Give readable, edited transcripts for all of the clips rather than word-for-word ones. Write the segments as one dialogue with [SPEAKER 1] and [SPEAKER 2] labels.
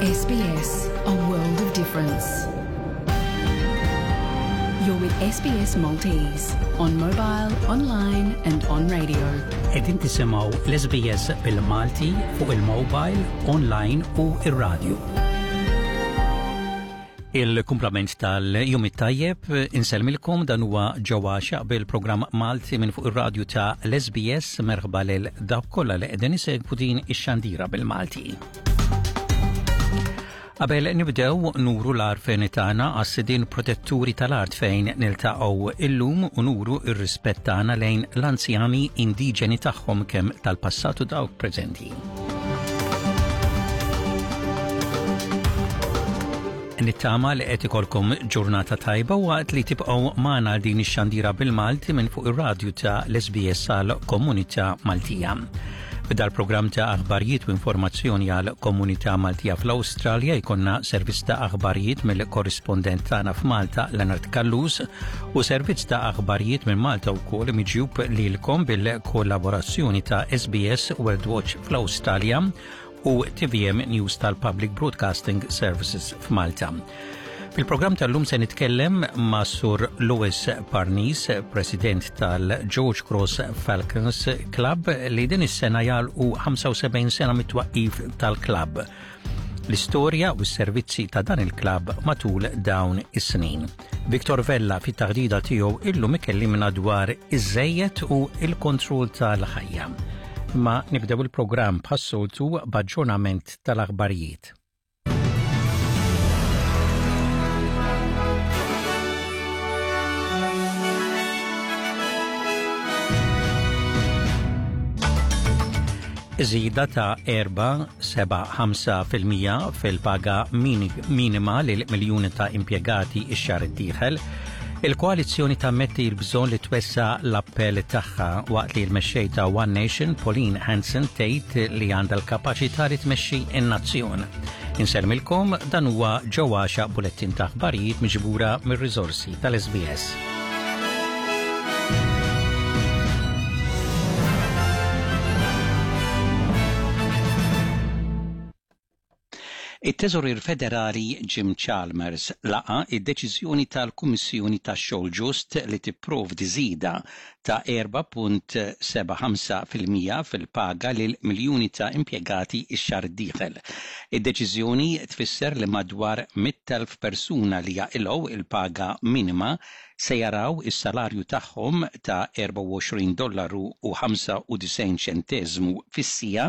[SPEAKER 1] SBS, a world of difference. You're with SBS Maltese on mobile, online and on radio.
[SPEAKER 2] Qegħdin tisimgħu l-SBS bil-Malti fuq il-mobile, online u ir-radio. Il-kumplament tal-jum it-tajjeb insellmilkom dan huwa ġewwa xaq bil-programm Malti minn fuq ir-radju ta' l-SBS merħba lil dawk kollha li qegħdin isegwu din ix-xandira bil-Malti. Qabel nibdew nuru l-għarfien tagħna għas-sidien protetturi tal-art fejn niltaqgħu illum u nuru r-rispett tagħna lejn l-anzjani indiġeni tagħhom kemm tal-passat u dawk preżenti. Nittama li qed ikolkom ġurnata tajba waqt li tibqgħu magħna din ix-xandira bil-Malti minn fuq ir-radju ta' l-SBS għal Komunità Maltija. F'dal programm ta' aħbarijiet u informazzjoni għal komunità Maltija fl-Awstralja jkollna servizz ta' aħbarijiet mill-korrispondent tagħna f'Malta Leonard Callus u servizz ta' aħbarijiet minn Malta wkoll miġjub lilkom bil-kollaborazzjoni ta' SBS World Watch fl-Awstralja u TVM News tal-Public Broadcasting Services f'Malta. Fil-programm tal-lum se nitkellem ma' Sur Louis Parnis, President tal-George Cross Falcons Club li din is-sena jagħlqu 75 sena mit-twaqqif tal-klabb. L-istorja u s-servizzi ta' dan il-klabb matul dawn is-snin. Victor Vella fit-taħdida tiegħu illum ikellimna dwar iż-żejjed u l-kontroll tal-ħajja. Ma nibdew il-programm bħas-soltu b'aġġornament tal-aħbarijiet. Żieda ta' 4.75% fil-paga minima lil miljuni ta' impjegati x-xahar id-dieħel. Il-koalizzjoni tammetti l-bżonn li twessa l-appell tagħha waqt li l-mexxej ta' One Nation, Pauline Hanson, tgħid li għandha l-kapaċità li tmexxi n-nazzjon. Insellmilkom dan huwa ġewwaxa bulettin ta' aħbarijiet miġbura mir-riżorsi tal-SBS. It-Teżorier Federali Jim Chalmers laqa' d-deċiżjoni tal-Kummissjoni tax-Xogħol Ġust li tipprovdi żieda ta' 4.75% fil-paga lil miljuni ta' impjegati x-xahar id-dieħel. Id-deċiżjoni tfisser li madwar 100,000 persuna li jaqilgħu il-paga minima se jaraw is-salarju tagħhom ta' 24 dollaru u 95 ċenteżmu fis-siegħa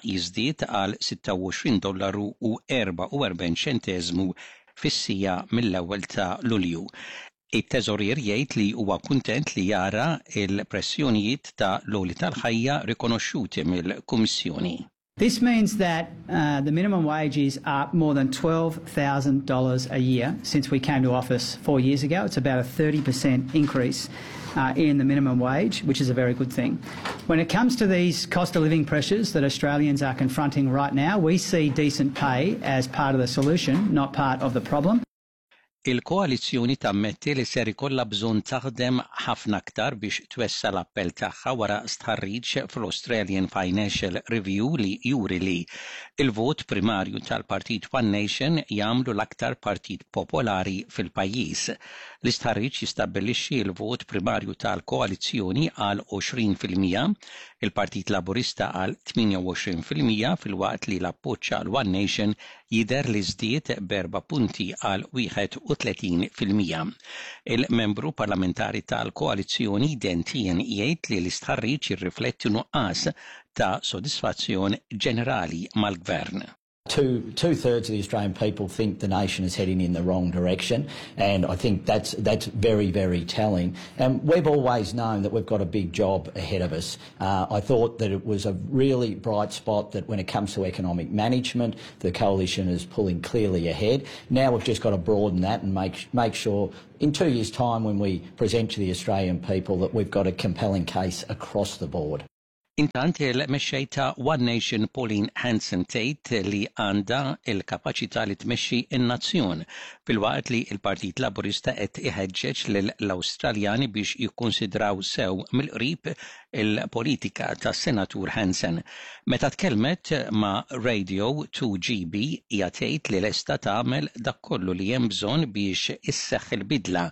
[SPEAKER 2] jiżdied għal 26 dollaru u 44 ċenteżmu fis-siegħa mill-ewwel ta' Lulju. It-Teżorier jgħid li huwa kuntent li jara l-pressjonijiet ta' l-għoli tal-ħajja rikonoxxuti mill-Kummissjoni.
[SPEAKER 3] This means that uh, the minimum wage is up more than $12,000 a year since we came to office four years ago. It's about a 30% increase uh, in the minimum wage, which is a very good thing. When it comes to these cost of living pressures that Australians are confronting right now, we see decent pay as part of the solution, not part of the problem.
[SPEAKER 2] Il-koalizzjoni tammetti li ser ikollha bżonn taħdem ħafna aktar biex twessa' l-appell tagħha wara stħarriġ fl-Australian Financial Review li juri li l-vot primarju tal-Partit One Nation jagħmlu l-aktar partit popolari fil-pajjiż. L-istħarriġ jistabbilixxi l-vot primarju tal-koalizzjoni għal 20%, il-Partit Laburista għal 28% filwaqt li l-appoġġ għal One Nation jidher li żdied b'erba' punti għal 31%. Il-Membru Parlamentari tal-koalizzjoni Dan Tehan jgħid li l-istħarriġ jirrifletti nuqqas ta' sodisfazzjon ġenerali mal-Gvern.
[SPEAKER 4] Two, two-thirds of the Australian people think the nation is heading in the wrong direction, and I think that's, that's very, very telling. And we've always known that we've got a big job ahead of us. Uh, I thought that it was a really bright spot that when it comes to economic management, the coalition is pulling clearly ahead. Now we've just got to broaden that and make, make sure in two years' time when we present to the Australian people that we've got a compelling case across the board.
[SPEAKER 2] Intant il-mexxej ta' One Nation Pauline Hanson tgħid li għandha l-kapaċità li tmexxi n-nazzjon, filwaqt li l-Partit Laburista qed iħeġġeġ lill-Awstraljani biex jikkunsidraw sew mill-qrib il-politika tas-Senatur Hanson. Meta tkellmet ma' Radio 2GB hija tgħid li lesta tagħmel dak kollu li hemm bżonn biex isseħħ il-bidla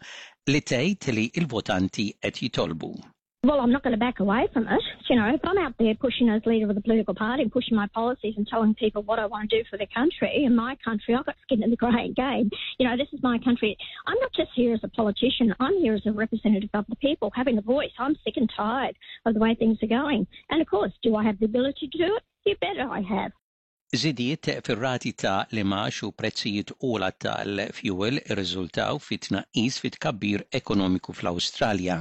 [SPEAKER 2] li tgħid li l-votanti qed jitolbu.
[SPEAKER 5] Well, I'm not going to back away from it. You know, if I'm out there pushing as leader of the political party and pushing my policies and telling people what I want to do for their country and my country, I've got skin in the game. You know, this is my country. I'm not just here as a politician. I'm here as a representative of the people, having a voice. I'm sick and tired of the way things are going. And of course, do I have the ability to do it? You bet I have.
[SPEAKER 2] Żidiet fir-rati ta' l-imgħax u prezzijiet ogħla tal-fjuwil irriżultaw fi tnaqqis fit-tkabbir ekonomiku fl-Awstralja.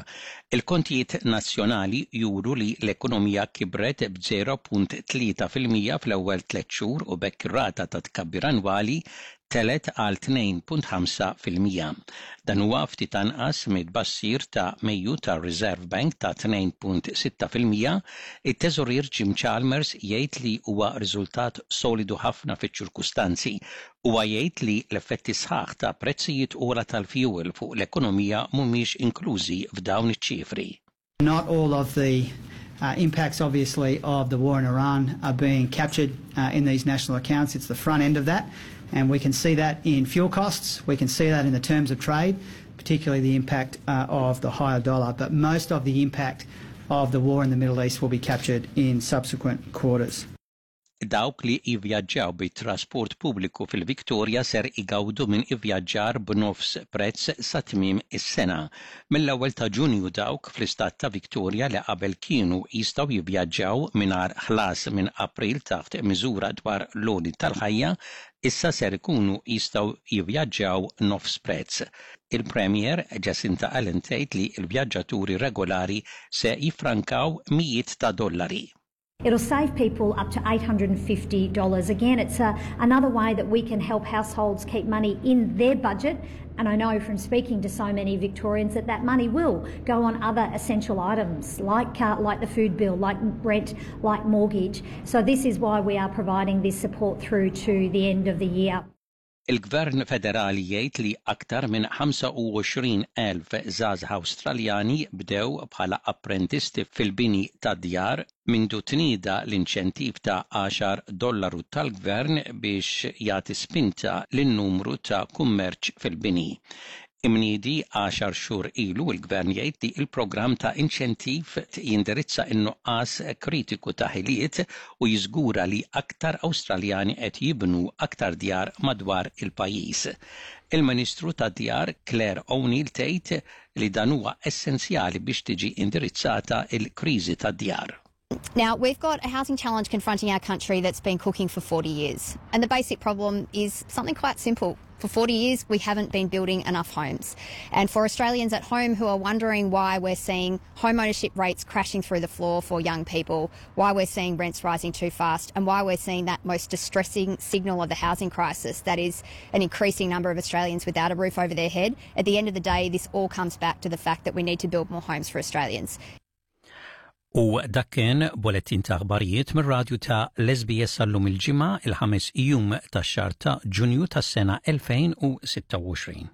[SPEAKER 2] Il-kontijiet nazzjonali juru li l-ekonomija kibret b'0.3% fl-ewwel tlett xhur u b'hekk ir-rata ta' tkabbir annwali telgħet għal 2.5%. Dan huwa ftit anqas mit-tbassir ta' Mejju tar-Reserve Bank ta' 2.6%. It-Teżorier Jim Chalmers jgħid li huwa riżultat solidu ħafna fiċ-ċirkustanzi. Huwa jgħid li l-effetti sħaħ ta' prezzijiet ogħla tal-fjuwil fuq l-ekonomija mhumiex inklużi f'dawn iċ-ċifri.
[SPEAKER 3] Not all of the uh, impacts, obviously, of the war in Iran are being captured uh, in these national accounts. It's the front end of that. And we can see that in fuel costs. We can see that in the terms of trade, particularly the impact uh, of the higher dollar. But most of the impact of the war in the Middle East will be captured in subsequent quarters.
[SPEAKER 2] Dawk li jivvjaġġaw bit-trasport pubbliku fil-Victoria ser igawdu minn ivvjaġġar b'nofs prezz sa tmiem is-sena. Mill-ewwel ta' Ġunju dawk fl-istat ta' Victoria li qabel kienu jistgħu jivvjaġġaw mingħajr ħlas minn April taħt miżura dwar l-għoli tal-ħajja issa ser ikunu jistgħu jivvjaġġaw nofs prezz. Il-Premier Jacinta Allan tgħid li l-vjaġġaturi regolari se jiffrankaw mijiet ta' dollari.
[SPEAKER 6] It'll save people up to $850. Again, it's a, another way that we can help households keep money in their budget. And I know from speaking to so many Victorians that that money will go on other essential items like, uh, like the food bill, like rent, like mortgage. So this is why we are providing this support through to the end of the year.
[SPEAKER 2] Il-Gvern Federali jgħid li aktar minn 25,000 żgħażagħ Awstraljani bdew bħala apprentisti fil-bini tad-djar mindu tnieda l-inċentiv ta' għaxar dollaru tal-Gvern biex jagħti spinta lin-numru ta' kummerċ fil-bini. Imniedi għaxar xhur ilu, il-Gvern jgħid li l-programm ta' inċentiv jindirizza n-nuqqas kritiku ta' ħiliet u jiżgura li aktar Awstraljani qed jibnu aktar djar madwar il-pajjiż. Il-Ministru tad-Djar Clare O'Neil tgħid li dan huwa essenzjali biex tiġi indirizzata l-kriżi tad-djar.
[SPEAKER 7] Now, we've got a housing challenge confronting our country that's been cooking for 40 years. And the basic problem is something quite simple. For 40 years, we haven't been building enough homes. And for Australians at home who are wondering why we're seeing home ownership rates crashing through the floor for young people, why we're seeing rents rising too fast, and why we're seeing that most distressing signal of the housing crisis, that is an increasing number of Australians without a roof over their head, at the end of the day, this all comes back to the fact that we need to build more homes for Australians.
[SPEAKER 2] U dak kien bolettin ta' aħbarijiet mir-radju ta' l-SBS għallum il-Ġimgħa il-ħames jum tax-xahar ta' Ġunju tas-sena 2026.